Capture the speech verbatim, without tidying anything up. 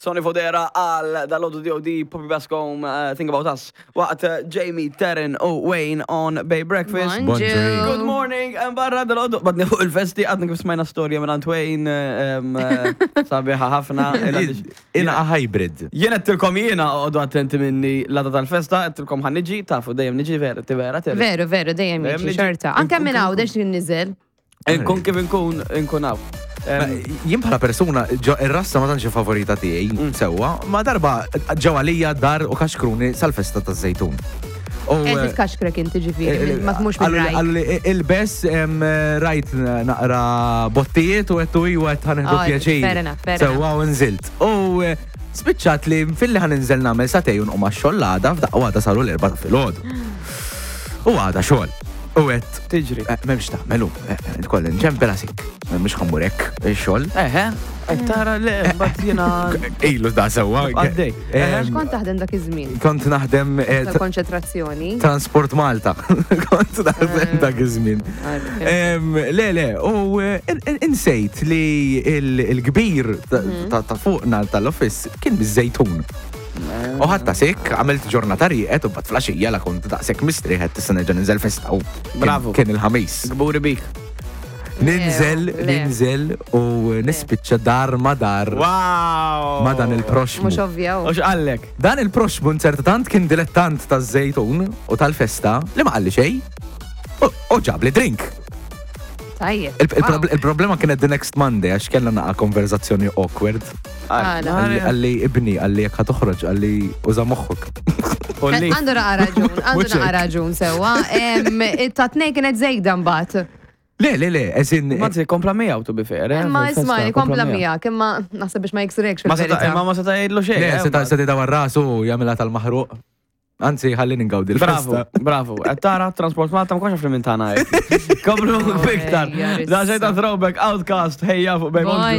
Sonny Fodera għal dalgħodu D O D. Poppy Bascom, uh, Think About Us. Waqt uh, Jamie, Taryn u Wayne on Bay Breakfast. Bonġu. Good morning, and barra dalgħodu, badni fuq il-festi, għadna kif smajna storja minn Wayne, um, uh, sabiħa ħafna. Ina hybrid. Jien għedtilkom jiena għodu attenti minni l-għada tal-festa, għedtilkom ħa niġi, tafu dejjem niġi, vera, ti vera, Terry. Veru, veru, dejjem Dejjem jiġi niġi. xorta. Anke minn hawn, dex niżel. Nkun kif nkun, nkun hawn. Em, Jien bħala persuna, ġo ir-rassa ma tantx favorita tiegħi, Mm. sewwa, ma darba ġew għalija dar u kaxkruni sal-festa taż-Żejtun. U, Qed eh, titkaxkrek inti ġifieri, ma tmux minn rajk. Għallu li ilbes em, rajt naqra bottijiet u għettu u għet ħa nieħdu Oh, pjaċir. Fair enough, fair Sewwa u nżilt. U eh, spiċċat li filli ħa ninżel nagħmel sagħtejn u nqum għax-xogħol għada, f'daqqa waħda saru l-erbgħa ta' filgħodu. U għada xogħol. U għedt, Tiġri. eh, m'hemmx tagħmelu, kolli nċempel għasik. Mhux ħa mmur hekk ix-xogħol. Eħe, qed tara le, mbagħad jiena. Ilu da sewwa. Għaddej. Em, X'kont taħdem dak iż-żmien? Kont naħdem eh, Tal-konċentrazzjoni. Transport Malta. Kont naħdem dak iż-żmien. Em, Le, le, u eh, in- in- insejt li il- il-kbir ta- ta' ta' fuqna tal-office kien biż-Żejtun. U ħatta sik, għamilt ġurnata rieqed u bat filgħaxija la kont daqshekk mistrieħet tista' nerġa' ninżel festa u kien- Bravo. Kien il-Ħamis. Kburi bik. Ninżel, Le. Ninżel u nispiċċa dar ma dar Wow! ma dan il-proxmu. Mhux ovvja. U x'qallek? Dan il-proxmu nzerta tant kien dilettant taż-Żejtun u tal-festa li ma qalli xejn u- u ġabli drink. Tajjeb. Il- il- Il-problema kienet the next Monday għax kellna naqa konverzazzjoni awkward. Għala. Qalli qalli ibni, qalli jekk ħa toħroġ, qalli uża moħħok. Olli. Għandu naqa raġun, għandu Mhux naqa hekk. raġun sewwa. Em, Ta' tnej kienet zejda mbagħad. Le, le, le, eżin. Ma ti kompla miegħu, to be fair. Eh, Imma fil-festa, isma' kompla miegħek, imma naħseb biex ma jiksrekx Ma seta' fil-verità. imma ma seta' jgħidlu xejn. Le, eh, seta' ma- seta' dawar rasu jagħmilha tal-maħruq. Anzi, ħalli ningawdi Bravo, l-festa. Bravo. Qed tara Transport Malta ma konx minn tagħna hekk. Komplu Oh, iktar. ejja, Da xejn ta' throwback Outcast ħejja fuq Bay. Bonġu.